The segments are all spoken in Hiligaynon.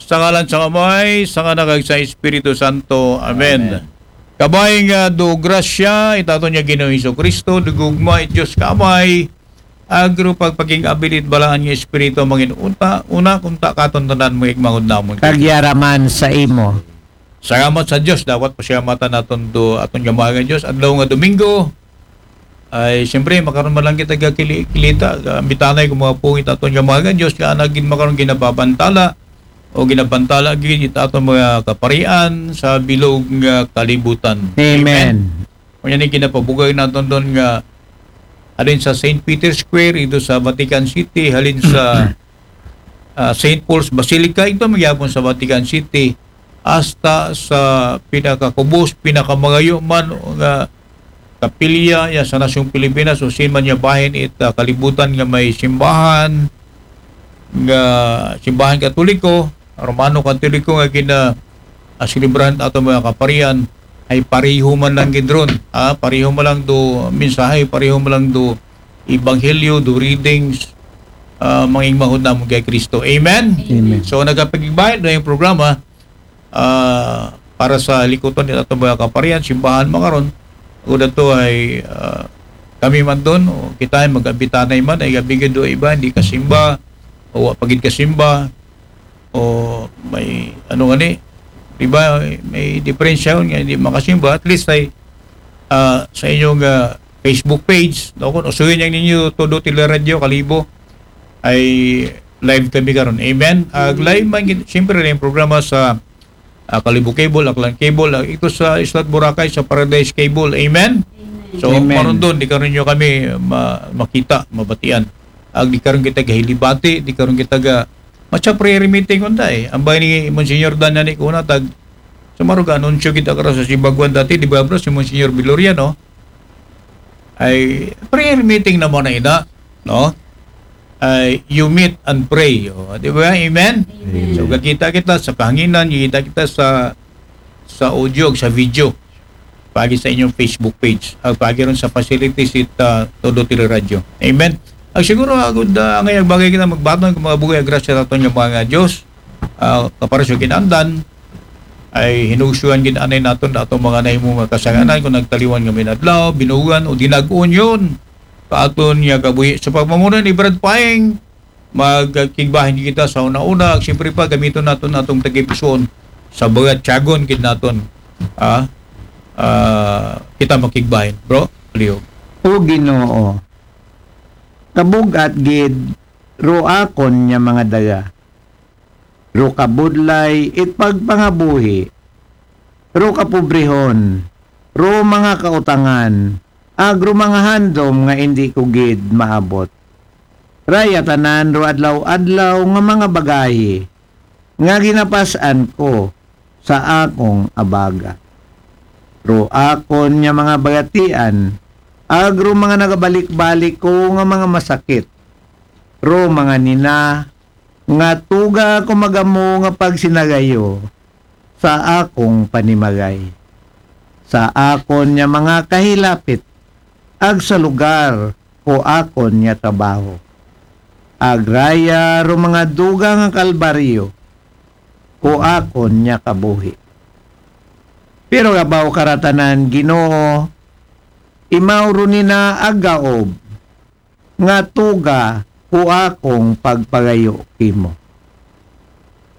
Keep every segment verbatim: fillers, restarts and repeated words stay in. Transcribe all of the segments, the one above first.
Sa ngalan sang Amay, sang Anak, kag sa Espiritu Santo. Amen. Amen. Kabay nga do grasya it aton nga Ginoong Jesu-Cristo, do gugma it Dios nga Amay, agro pagpakig-abilit balaan nga Espiritu, mangin unta, una kunta katon tanan, mga igmangod namon. Kag yara man sa imo. Salamat sa Dios, dapat pasalamatan naton do aton nga mahal nga Dios. Adlaw nga Domingo, ay, siyempre, makaron man lang kita gakili-, kilita, gambitanay kung mga pungit aton nga mahal nga Dios, nga ana gid makaron ginababantala o ginabantala gid it aton mga kaparian sa bilog nga kalibutan. Amen. Amen. Unya ni ginapabugay naton doon nga halin sa Saint Peter's Square, ito sa Vatican City, halin sa, ah, Saint Paul's Basilica, ito magyapon sa Vatican City, hasta sa pinakakubos, pinakamagayo man nga kapilya ya sa nasyong Pilipinas, o sin man niya bahin it, ah, kalibutan nga may simbahan, nga simbahan Katoliko, Romano Katoliko nga gina, ah, selebrahan ato mga kaparian, ay pareho man lang gid ron, ah, pareho man lang do mensahe, pareho man lang do ebanghelyo, do readings, ah, mga igmahod namon kay Kristo. Amen? Amen. So, nagapagigbayan na yung programa, ah, para sa likuton ni ato mga kaparian, simbahan man karon. Ako na to ay, ah, kami man doon, o kita ay mag-abitanay man, ay gabi gid do iba, hindi kasimba, o wa pa gid kasimba, o may, ano gani, di ba, may diferensya yun nga hindi makasimba. At least ay, ah, sa inyong, ah, Facebook page, no, kung usuhin yang ninyo Todo Teleradyo, Kalibo, ay live kami karon. Amen? Ag live man gid, siyempre, na yung programa sa, ah, Kalibo Cable, Aklan Cable, ah, ito sa Isla Boracay, sa Paradise Cable. Amen? Amen. So, amen. Maron doon, di karon nyo kami ma-, makita, mabatian. Ag di karon kita gahilibati, di karon kita ga, matsa prayer meeting unta eh. Ang bay ni Monsignor Dan na ni kuna, tag, sumaro ga anunsyo kita karon sa Sibaguan dati, di ba, bro, si Monsignor Viloriano? Ay prayer meeting naman na ina, no? Ay you meet and pray, o, di ba? Amen? Amen. So, gakita kita sa kahanginan, gakita kita sa, sa audio, sa video. Pagi sa inyong Facebook page, ag pagi ron sa facilities it, ah, Todo Teleradyo. Amen? Ag siguro, agud, ah, angay ag bagay kita magbaton kung mga bugay ag grasya naton nga mga Dios, ah, kapara sa kinandan, ay hinugsuan gid anay naton na atong mga nahimo nga kasalanan, kung nagtaliwan nga minadlaw, binugan o dinag-on yun. Kaaton nga kabuhi. Sa pagpamuno ni Brad Paeng, magkigbahin kita sa una-una. Siyempre pa, gamiton naton atong tagipusoon sa mga tiyagon gid naton. Ah, ah, kita makigbahin, bro. Leo. O Ginoo, kabug-at gid ro akon nga mga daga. Ro kabudlay it pagpangabuhi, ro kapobrehon, ro mga kautangan, ag ro mga handom nga indi ko gid maabot. Raya tanan ro adlaw-adlaw nga mga bagahi nga ginapas-an ko sa akong abaga. Ro akon nga mga bagatian, ag ro mga nagabalik-balik ko nga mga masakit, ro mga nina nga tuga ko magamo nga pagsinagayo sa akong panimagay, sa akon nga mga kahilapit, ag sa lugar ko akon nga trabaho. Agraya ro mga duga nga kalbaryo ko akon nga kabuhi. Pero kabaw karatanan, Ginoo, imaw ro nina agaob nga tuga ko akong pagpagayo kimo.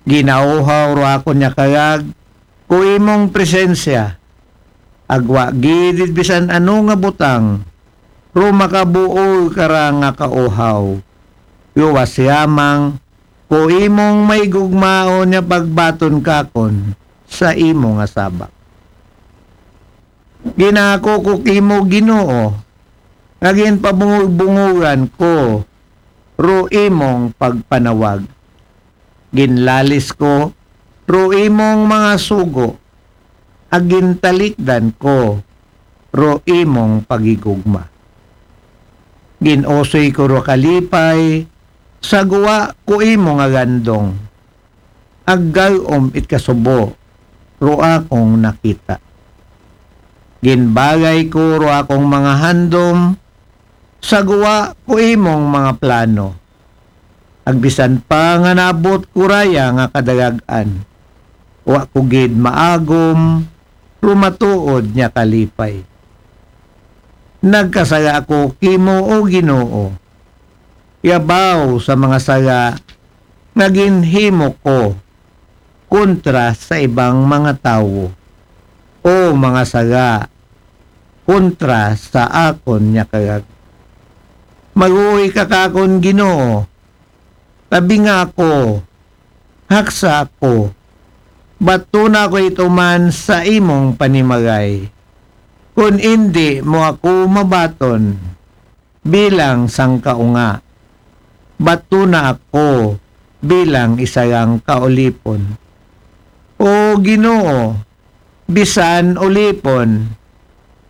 Ginauhaw ro akon nga kagag ko imong presensya, agwa gid bisan ano nga butang ro makabuol ka ra nga kauhaw. Luwas yamang ko imong maigugmaon nga pagbaton kakon sa imo nga sabak. Ginako ko kimo, Ginoo, nga ginpabungog-bungogan ko ro imong pagpanawag. Ginlalis ko ro imong mga sugo, ag gintalikdan ko ro imong paghigugma. Gin-usoy ko ro kalipay sa gwa ko imo nga gandong, ag gag-om it kasubo ro akong nakita. Ginbagay ko ro akong mga handom sa gwa ko imong mga plano. Agbisan pa nga naabot ko raya nga kadagag-an, wa ko gid maagom lumatuod niya kalipay. Nagkasala ako kimo, O Ginoo, yabaw sa mga sala nga ginhimo ko kontra sa ibang mga tawo, o mga sala kontra sa akon nga kalag. Maluoy ka kakon, Ginoo, tabinga ako, haksa ako, batuna ako ituman sa imong panimalay. Kon indi mo ako mabaton bilang sang kaunga, batuna ako bilang isa lang ka ulipon. O Ginoo, bisan ulipon,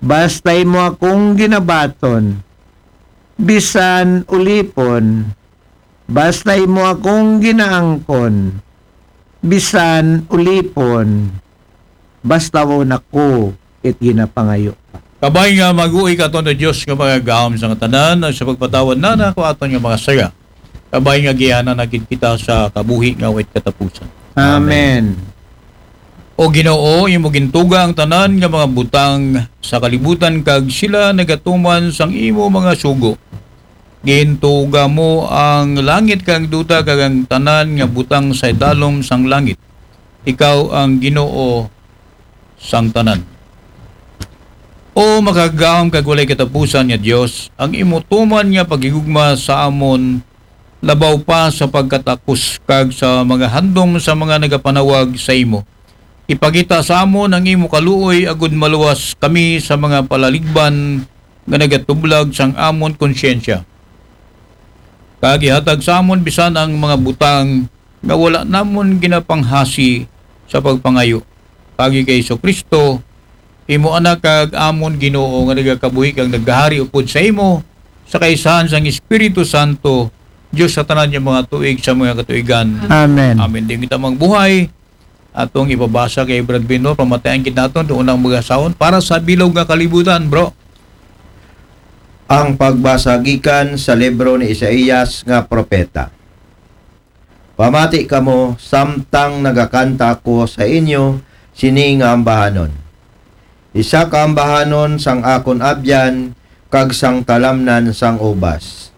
basta imo akong ginabaton. Bisan ulipon, basta imo akong ginaangkon. Bisan ulipon, basta wala ako it ginapangayo. Kabay nga mag-uwi ka aton, O Dios, nga magagahom sa tanan, sa pagpatawad na nako aton nga mga sala. Kabay nga giyanan na gid kita sa kabuhi nga wait katapusan. Amen. O Ginoo, imo gintuga ang tanan nga mga butang sa kalibutan, kag sila nagatuman sang imo mga sugo. Gintuga mo ang langit kag duta kag ang tanan nga butang sa idalom sang langit. Ikaw ang Ginoo sang tanan. O makagagahom kag walay katapusan nga Dios, ang imo tuman nga paghigugma sa amon labaw pa sa pagkatakos kag sa mga handom sa mga nagapanawag sa imo. Ipakita sa amon ang imo kaluoy agod maluwas kami sa mga palaligban nga nagatublag sang amon konsyensya. Kag ihatag sa amon bisan ang mga butang nga wala namon ginapanghasi sa pagpangayo. Paagi kay Jesu-Cristo, imo Anak kag amon Ginoo, nga nagakabuhi kag nagahari upod sa imo, sa kaisahan sang Espiritu Santo, Dios sa tanan nga mga tuig sa mga katuigan. Amen. Amen. Di kita magbuhay. Atong ipabasa kay Brad Bino, pamatayan gid naton doon ang mga sound para sa bilog nga kalibutan, bro. Ang pagbasa gikan sa libro ni Isaias nga propeta. Pamati kamo, samtang nagakanta ako sa inyo sini nga ambahanon. Isa ka ambahanon sang akon abyan kag sang talamnan sang ubas.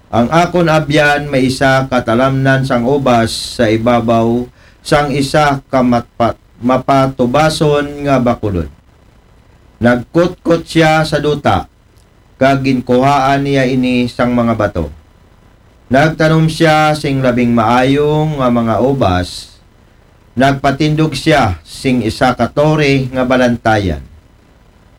Ang akon abyan may isa ka talamnan sang ubas sa ibabaw sang isa ka matpa-, mapatubason nga bakulod. Nagkutkot sia sa duta, kag ginkuhaan niya ini sang mga bato. Nagtanom sia sing labing maayo nga mga ubas, nagpatindog sia sing isa ka tore nga balantayan.